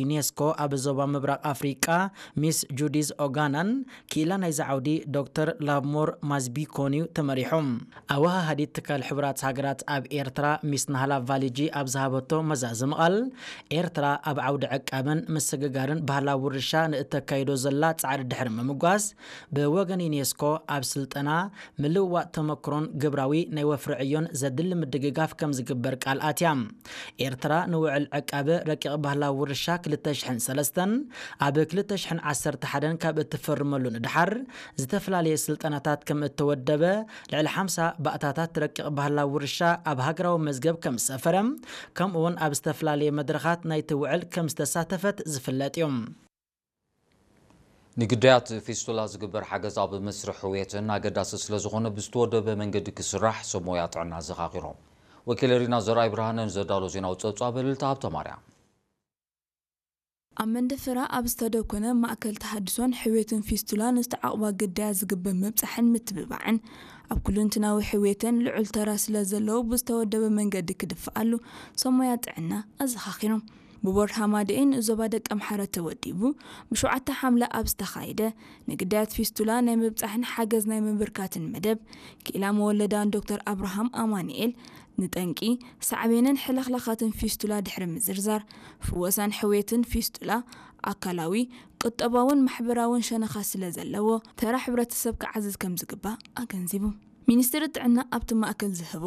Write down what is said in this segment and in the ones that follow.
ዩኔስኮ ኣብ ዞባ ምብራቕ ኣፍሪቃ ሚስ ጁዲዝ ኦጋናን ክኢላ ናይዚ ዓውዲ ዶክተር ላቭሞር ማዝቢኮን እዩ ተመሪሑ። ኣወሃሃዲት ትካል ሕቡራት ሃገራት ኣብ ኤርትራ ሚስ ናህላ ቫሊጂ ኣብ ዝሃበቶ መዛዘሚ ቃል፣ ኤርትራ ኣብ ዓውዲ ዕቃበን ምስግጋርን ባህላዊ ውርሻ ንእተካይዶ ዘላ ጻዕሪ ድሕሪ ምምጓስ፣ ብወገን ዩኔስኮ ኣብ ስልጠና፣ ምልውዋጥ ተመክሮን ግብራዊ ናይ ወፍሪ ዕዮን ዘድሊ ምድግጋፍ ከም ዝግበር ቃል ኣትያ። ኤርትራ ንውዕል ዕቃበ ረቂቕ ባህላዊ ውርሻ ክልተ ሽሕን ሰለስተን ኣብ ክልተ ሽሕን ዓሰርተ ሓደን ካብ እትፈርመሉ ንድሓር፣ ዝተፈላለየ ስልጠናታት ከም እተወደበ፣ ልዕሊ ሓምሳ ባእታታት ረቂቕ ባህላዊ ውርሻ ኣብ ሃገራዊ መዝገብ ከም ዝሰፈረ፣ ከምኡውን ኣብ ዝተፈላለየ መድረኻት ናይቲ ውዕል ከም ዝተሳተፈት ዝፍለጥ እዩ። ንግዳያት ፊስቱላ ዝግበር ሓገዝ ኣብ መስርሕ ሕውየትን ኣገዳሲ ስለ ዝኾነ፣ ብዝተወደበ መንገዲ ክስራሕ ሰብ ሞያ ጥዕና ዘኻኺሮም። ወኪል ሪና ዘርኣይ ብርሃነ ንዘዳሎ ዜናዊ ጸብጻብ ልልታ ሃብተ ማርያም። ኣብ መንደፈራ ኣብ ዝተደኮነ ማእከል ተሃድሶን ሕውየትን ፊስቱላ ንዝተዓቑባ ግዳያት ዝግበር ምብጻሕን ምትብባዕን፣ ኣብ ኩሉንትናዊ ሕውየተን ልዑል ተራ ስለ ዘለዎ፣ ብዝተወደበ መንገዲ ክድፍኣሉ ሰብ ሞያ ጥዕና ኣዘኻኺሮም። ብቦርድ ሃማደኤ ንኡዞባ ደቀምሓረ ተወዲቡ፣ ብሸውዓተ ሓምለ ኣብ ዝተኻየደ ንግዳያት ፊስቱላ ናይ ምብጻሕን ሓገዝ ናይ ምብርካትን መደብ፣ ክኢላ መወለዳን ዶክተር ኣብርሃም ኣማኑኤል፣ ንጠንቂ፣ ሳዕቤንን ሕልኽላኻትን ፊስቱላ ድሕሪ ምዝርዛር፣ ፍወሳን ሕውየትን ፊስቱላ፣ ኣካላዊ፣ ቁጠባውን ማሕበራውን ሸነኻት ስለ ዘለዎ፣ ተራ ሕብረተሰብ ክዓዝዝ ከም ዝግባእ ኣገንዚቡ። ሚኒስትሪ ጥዕና ኣብቲ ማእከል ዝህቦ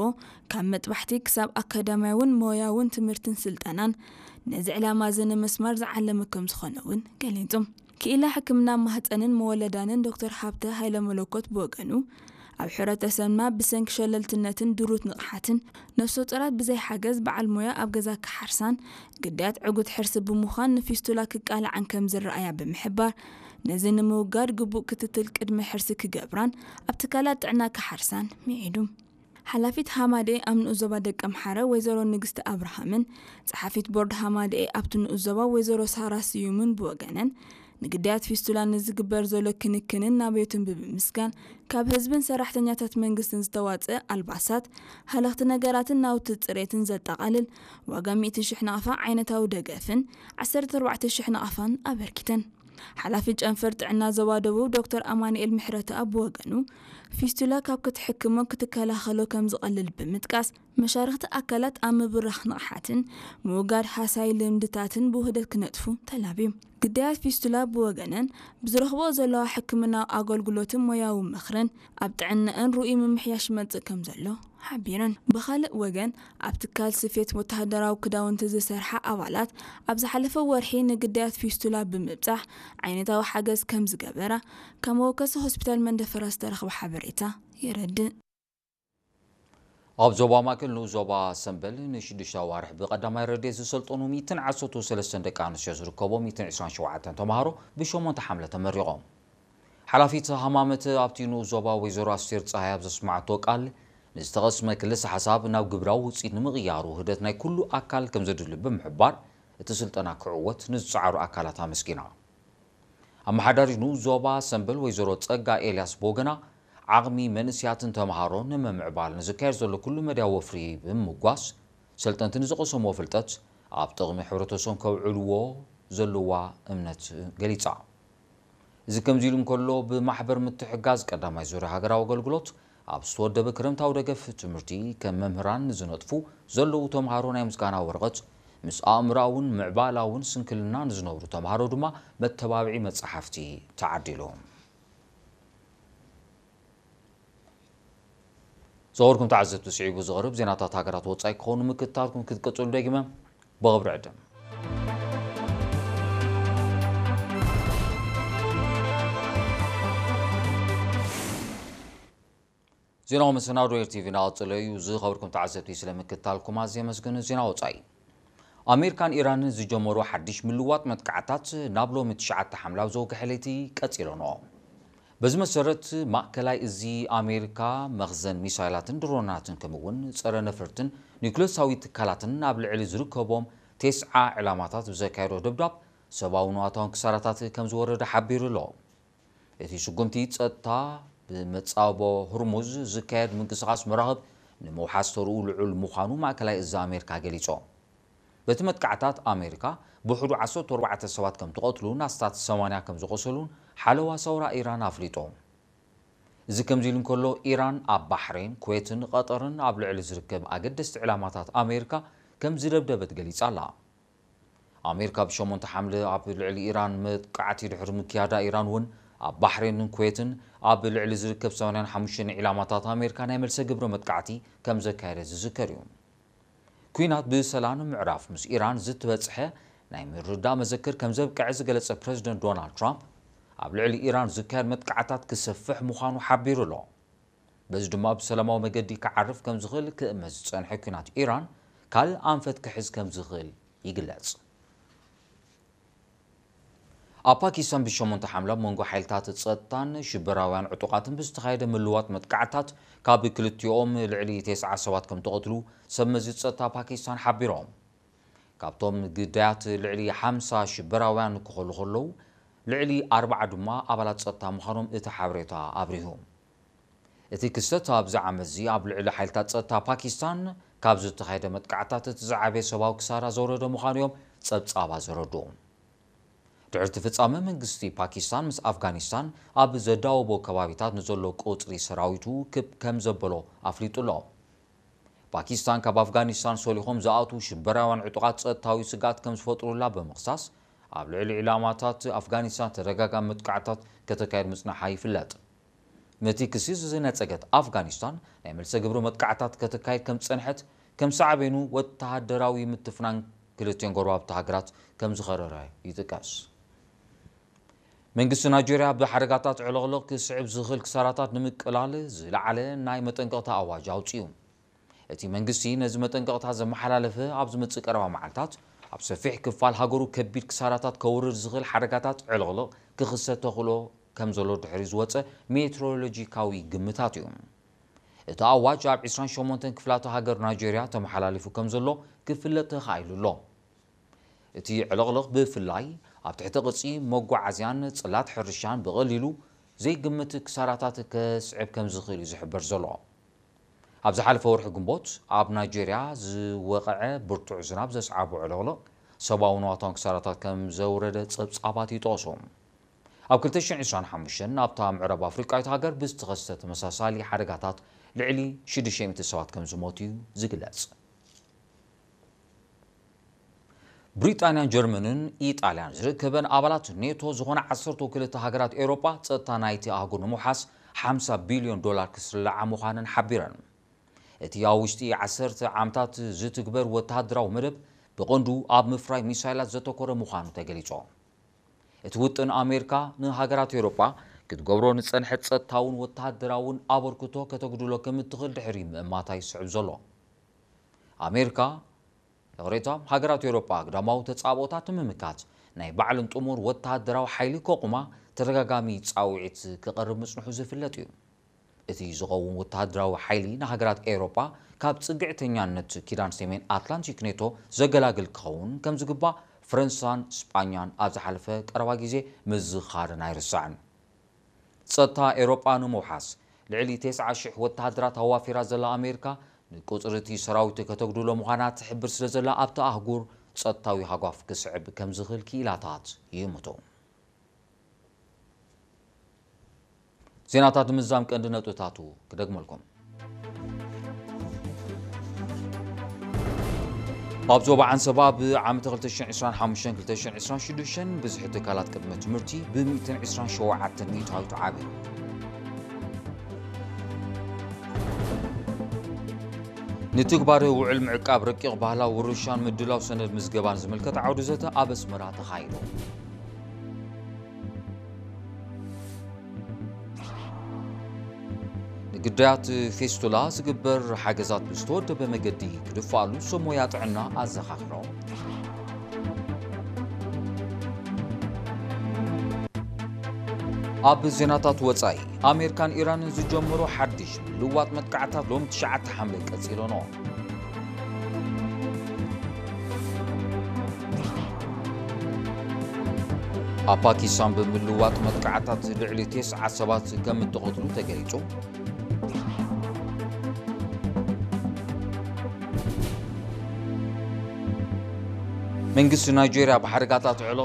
ካብ መጥባሕቲ ክሳብ ኣካዳምያውን ሞያውን ትምህርትን ስልጠናን ነዚ ዕላማ እዚ ንምስማር ዝዓለመ ከም ዝኾነ እውን ገሊጹ። ክኢላ ሕክምና ማህጸንን መወለዳንን ዶክተር ሃብተ ሃይለ መለኮት ብወገኑ፣ ኣብ ሕብረተሰብና ብሰንኪ ሸለልትነትን ድሩት ንቕሓትን ነፍሰ ጡራት ብዘይ ሓገዝ በዓል ሞያ ኣብ ገዛ ክሓርሳን ግዳያት ዕጉት ሕርሲ ብምዃን ንፊስቱላ ክቃልዓን ከም ዝረኣያ ብምሕባር፣ ነዚ ንምውጋድ ግቡእ ክትትል ቅድመ ሕርሲ ክገብራን ኣብ ትካላት ጥዕና ክሓርሳን ምዒዱ። ሓላፊት ሃማዴ ኣብ ንኡስ ዞባ ደቀምሓረ ወይዘሮ ንግስቲ ኣብርሃምን ጸሓፊት ቦርድ ሃማዴ ኣብቲ ንኡስ ዞባ ወይዘሮ ሳራ ስዩምን ብወገነን፣ ንግዳያት ፊስቱላ ንዝግበር ዘሎ ክንክንን ናብዮትን ብምምስጋን፣ ካብ ህዝብን ሰራሕተኛታት መንግስትን ዝተዋጽአ ኣልባሳት፣ ሃለኽቲ ነገራትን ናውቲ ጽሬትን ዘጠቓልል ዋጋ ሚእቲ ሽሕ ናቕፋ ዓይነታዊ ደገፍን ዓሰርተ ኣርባዕተ ሽሕ ናቕፋን ኣበርኪተን። ሓላፊ ጨንፈር ጥዕና ዞባ ደቡብ ዶክተር ኣማኑኤል ምሕረተኣብ ብወገኑ፣ ፊስቱላ ካብ ክትሕክሞ ክትከላኸሎ ከም ዝቐልል ብምጥቃስ፣ መሻርኽቲ ኣካላት ኣብ ምብራኽ ንቕሓትን ምውጋድ ሃሳይ ልምድታትን ብውህደት ክነጥፉ ተላብዩ። ግዳያት ፊስቱላ ብወገነን፣ ብዝረኽብኦ ዘለዋ ሕክምናዊ ኣገልግሎትን ሞያዊ ምኽርን ኣብ ጥዕናኣን ርኡይ ምምሕያሽ ይመጽእ ከም ዘሎ ሓቢረን። ብኻልእ ወገን፣ ኣብ ትካል ስፌት ወተሃደራዊ ክዳውንቲ ዝሰርሓ ኣባላት፣ ኣብ ዝሓለፈ ወርሒ ንግዳያት ፊስቱላ ብምብጻሕ ዓይነታዊ ሓገዝ ከም ዝገበራ፣ ካብ መወከሲ ሆስፒታል መንደፈራ ዝተረኽበ ሓበሬታ የረድእ። ኣብ ዞባ ማእከል ንኡስ ዞባ ሰምበል ንሽዱሽተ ኣዋርሕ ብቐዳማይ ረድኤት ዝሰልጠኑ ሚእትን ዓሰርተ ሰለስተን ደቂ ኣንስትዮ ዝርከቦም ሚእትን ዕስራን ሸውዓተን ተምሃሮ ብሸሞንተ ሓምለ ተመሪቖም። ሓላፊት ሃማመት ኣብቲ ንኡስ ዞባ ወይዘሮ ኣስቴር ጸሃይ ኣብ ዘስመዓቶ ቃል፣ ንዝተቐስመ ክልሰ ሓሳብ ናብ ግብራዊ ውጽኢት ንምቕያሩ ውህደት ናይ ኩሉ ኣካል ከም ዘድሊ ብምሕባር፣ እቲ ስልጠና ክዕወት ንዝጸዓሩ ኣካላት ኣመስጊና። ኣመሓዳሪት ንኡስ ዞባ ሰምበል ወይዘሮ ጸጋ ኤልያስ ብወገና፣ ዓቕሚ መንእሰያትን ተምሃሮን ንምምዕባል ንዝካየድ ዘሎ ኩሉ መድያ ወፍሪ ብምምጓስ፣ ሰልጠንቲ ንዝቐሰምዎ ፍልጠት ኣብ ጥቕሚ ሕብረተሰቦም ከውዕልዎ ዘለዋ እምነት ገሊጻ። እዚ ከምዚ ኢሉ እንከሎ፣ ብማሕበር ምትሕጋዝ ቀዳማይ ዙርያ ሃገራዊ ኣገልግሎት ኣብ ዝተወደበ ክረምታዊ ደገፍ ትምህርቲ፣ ከም መምህራን ንዝነጥፉ ዘለዉ ተምሃሮ ናይ ምስጋና ወረቐት፣ ምስ ኣእምሮኣውን ምዕባላውን ስንክልና ንዝነብሩ ተምሃሮ ድማ መተባብዒ መጻሕፍቲ ተዓዲሉ። ዝኸበርኩም ተዓዘብቲ፣ ስዒቡ ዝቐርብ ዜናታት ሃገራት ወጻኢ ክኸውን ምክትታልኩም ክትቅጽሉ ደጊመ ብኽብሪ ዕድም። ዜናዊ መሰናዶ ኤር ቲቪ እናቐጸለ እዩ። ዝኸበርኩም ተዓዘብቲ፣ ስለ ምክትታልኩም ኣዝየ የመስግን። ዜና ወጻኢ። ኣሜሪካን ኢራንን ዝጀመሮ ሓድሽ ምልዋጥ መጥቃዕታት ናብ ሎሚ ትሽዓተ ሓምለ ኣብ ዘወግሐ ለይቲ ቀጺለንኦ። በዚ መሰረት፣ ማእከላይ እዚ ኣሜሪካ መኽዘን ሚሳይላትን ድሮናትን፣ ከምኡ'ውን ጸረ ነፈርትን ኒውክለሳዊ ትካላትን ኣብ ልዕሊ ዝርከቦም ተስዓ ዕላማታት ብዘካየዶ ደብዳብ፣ ሰብኣውን ንዋታውን ክሳራታት ከም ዝወረደ ሓቢሩ ኣሎ። እቲ ስጉምቲ፣ ጸጥታ፣ ብመጻብቦ ሁርሙዝ ዝካየድ ምንቅስቓስ መራኽብ ንምውሓስ ተርኡ ልዑል ምዃኑ ማእከላይ እዚ ኣሜሪካ ገሊጹ። በቲ መጥቃዕታት ኣሜሪካ ብውሕዱ ዓሰርተ ኣርባዕተ ሰባት ከም ተቐትሉን ኣስታት ሰማንያ ከም ዝቖሰሉን ሓለዋ ሰውራ ኢራን ኣፍሊጡ። እዚ ከምዚ ኢሉ እንከሎ፣ ኢራን ኣብ ባሕሬን፣ ኩዌትን ቀጠርን ኣብ ልዕሊ ዝርከብ ኣገደስቲ ዕላማታት ኣሜሪካ ከም ዝደብደበት ገሊጻ ኣላ። ኣሜሪካ ብ ሸሞንተ ሓምለ ኣብ ልዕሊ ኢራን መጥቃዕቲ ድሕሪ ምክያዳ፣ ኢራን እውን ኣብ ባሕሬንን ኩዌትን ኣብ ልዕሊ ዝርከብ ሰማንያን ሓሙሽተን ዒላማታት ኣሜሪካ ናይ መልሰ ግብሪ መጥቃዕቲ ከም ዘካየደ ዝዝከር እዩ። ኲናት ብሰላም ንምዕራፍ ምስ ኢራን ዝተበጽሐ ናይ ምርድዳእ መዘክር ከም ዘብቅዐ ዝገለጸ ፕረዚደንት ዶናልድ ትራምፕ፣ ኣብ ልዕሊ ኢራን ዝካየድ መጥቃዕታት ክሰፍሕ ምዃኑ ሓቢሩ ኣሎ። በዚ ድማ ብሰላማዊ መገዲ ክዓርፍ ከም ዝኽእል ክእመት ዝጸንሐ ኲናት ኢራን ካልእ ኣንፈት ክሕዝ ከም ዝኽእል ይግለጽ። ኣብ ፓኪስታን ብሸሞንተ ሓምለ ኣብ መንጎ ሓይልታት ጸጥታን ሽበራውያን ዕጡቓትን ብዝተኻየደ ምልዋጥ መጥቃዕታት ካብ ክልቲኦም ልዕሊ ተስዓ ሰባት ከም ተቐትሉ ሰብ መዚ ጸጥታ ፓኪስታን ሓቢሮም። ካብቶም ግዳያት ልዕሊ ሓምሳ ሽበራውያን ክኾሉ ከለዉ፣ ልዕሊ ኣርባዓ ድማ ኣባላት ጸጥታ ምዃኖም እቲ ሓበሬታ ኣብሪሁ። እቲ ክስተት ኣብዚ ዓመትዚ ኣብ ልዕሊ ሓይልታት ጸጥታ ፓኪስታን ካብ ዝተኻየደ መጥቃዕታት እቲ ዝዓበየ ሰብኣዊ ክሳራ ዘውረደ ምዃኑ እዮም ጸብጻባት ዘረድኡ። ድሕሪ እቲ ፍጻመ መንግስቲ ፓኪስታን ምስ ኣፍጋኒስታን ኣብ ዘዳወቦ ከባቢታት ንዘሎ ቁጽሪ ሰራዊቱ ክብ ከም ዘበሎ ኣፍሊጡ ኣሎ። ፓኪስታን ካብ ኣፍጋኒስታን ሰሊኾም ዝኣትዉ ሽበራውያን ዕጡቓት ጸጥታዊ ስግኣት ከም ዝፈጥሩላ ብምኽሳስ፣ ኣብ ልዕሊ ዒላማታት ኣፍጋኒስታን ተደጋጋሚ መጥቃዕታት ከተካይድ ምጽናሓ ይፍለጥ። ነቲ ክሲ ዝነጸገት ኣፍጋኒስታን ናይ መልሰ ግብሪ መጥቃዕታት ከተካይድ ከም ዝጸንሐት፣ ከም ሳዕቤኑ ወተሃደራዊ ምትፍናን ክልቲኦን ጎረባብቲ ሃገራት ከም ዝኸረረ ይጥቀስ። መንግስቲ ናይጀርያ ብሓደጋታት ዕልቕልቕ ክስዕብ ዝኽእል ክሳራታት ንምቅላል ዝለዓለ ናይ መጠንቀቕታ ኣዋጅ ኣውጺኡ። እቲ መንግስቲ ነዚ መጠንቀቕታ ዘመሓላለፈ ኣብ ዝመጽእ ቀረባ መዓልታት ኣብ ሰፊሕ ክፋል ሃገሩ ከቢድ ክሳራታት ከውርድ ዝኽእል ሓደጋታት ዕልቕልቕ ክኽሰት ተኽእሎ ከም ዘሎ ድሕሪ ዝወጸ ሜትሮሎጂካዊ ግምታት እዩ። እቲ ኣዋጅ ኣብ ዕስራን ሸሞንተን ክፍላተ ሃገር ናይጀርያ ተመሓላሊፉ ከም ዘሎ ክፍለጥ ተኻኢሉ ኣሎ። እቲ ዕልቕልቕ ብፍላይ ኣብ ትሕቲ ቅርጺ መጓዓዝያን ጽላት ሕርሻን ብቐሊሉ ዘይግምት ክሳራታት ከስዕብ ከም ዝኽእል እዩ ዝሕበር ዘሎ። ኣብ ዝሓለፈ ወርሒ ግንቦት ኣብ ናይጀርያ ዝወቕዐ ብርቱዕ ዝናብ ዘስዓቦ ዕልቕልቕ ሰብኣዊ ንዋታውን ክሳራታት ከም ዘውረደ ጸብጻባት ይጠቕሱ። ኣብ ክልተ ሽሕን ዕስራን ሓሙሽተን ኣብታ ምዕራብ ኣፍሪቃዊት ሃገር ብዝተኸስተ ተመሳሳሊ ሓደጋታት ልዕሊ ሽዱሽተ ሚእቲ ሰባት ከም ዝሞቱ እዩ ዝግለጽ። ብሪጣንያን ጀርመንን ኢጣልያን ዝርከበን ኣባላት ኔቶ ዝኾና ዓሰርተ ክልተ ሃገራት ኤውሮጳ ጸጥታ ናይቲ ኣህጉር ንምውሓስ ሓምሳ ቢልዮን ዶላር ክስልዓ ምዃነን ሓቢረን። እቲ ኣብ ውሽጢ ዓሰርተ ዓመታት ዝትግበር ወተሃደራዊ መደብ ብቐንዱ ኣብ ምፍራይ ሚሳይላት ዘተኮረ ምዃኑ ተገሊጹ። እቲ ውጥን ኣሜሪካ ንሃገራት ኤውሮጳ ክትገብሮ ንጸንሐት ጸጥታውን ወተሃደራውን ኣበርክቶ ከተጉድሎ ከም እትኽእል ድሕሪ ምእማታ ይስዕብ ዘሎ። ኣሜሪካ፣ ይቕሬታ፣ ሃገራት ኤውሮጳ ግዳማዊ ተጻብኦታት ንምምካት ናይ ባዕለን ጥሙር ወተሃደራዊ ሓይሊ ከቑማ ተደጋጋሚ ጻውዒት ክቐርብ ምጽንሑ ዝፍለጥ እዩ። እቲ ዝኸውን ወተሃደራዊ ሓይሊ ንሃገራት ኤውሮጳ ካብ ጽግዕተኛነት ኪዳን ሰሜን ኣትላንቲክ ኔቶ ዘገላግል ክኸውን ከም ዝግባእ ፈረንሳን ስጳኛን ኣብ ዝሓለፈ ቀረባ ግዜ ምዝኻረን ኣይርሳዕን። ጸጥታ ኤውሮጳ ንምውሓስ ልዕሊ ተስዓ ሽሕ ወተሃደራት ኣዋፊራ ዘላ ኣሜሪካ፣ ንቁጽሪ እቲ ሰራዊት ከተጉድሎ ምዃና ትሕብር ስለ ዘላ፣ ኣብቲ ኣህጉር ጸጥታዊ ሃጓፍ ክስዕብ ከም ዝኽእል ክኢላታት ይእምቱ። ዜናታት ንምዝዛም ቀንዲ ነጥብታቱ ክደግመልኩም። ኣብ ዞባ ዓንሰባ ብዓመተ ክልተ ሽሕን ዕስራን ሓሙሽተን ክልተ ሽሕን ዕስራን ሽዱሽተን ብዝሒ ትካላት ቅድመ ትምህርቲ ብ ሚእትን ዕስራን ሸውዓተን ሚእታዊት ዓብዩ። ንትግባረ ውዕል ምዕቃብ ረቂቕ ባህላዊ ውርሻን ምድላው ሰነድ ምዝገባን ዝምልከት ዓውዲ ዘተ ኣብ ኣስመራ ተኻይዱ። ንግዳያት ፌስቱላ ዝግበር ሓገዛት ብዝተወደበ መገዲ ክድፋኣሉ ሰብ ሞያ ጥዕና ኣዘኻኺሮም። ኣብ ዜናታት ወጻኢ፣ ኣሜሪካን ኢራንን ዝጀመሮ ሓድሽ ምልዋጥ መጥቃዕታት ሎም ትሽዓተ ሓምለ ቀጺሉ ኣሎ። ኣብ ፓኪስታን ብምልዋጥ መጥቃዕታት ልዕሊ ተስዓ ሰባት ከም እተቐትሉ ተገሊጹ። መንግስቲ ናይጄርያ ብሓደጋታት ዕለቕሎ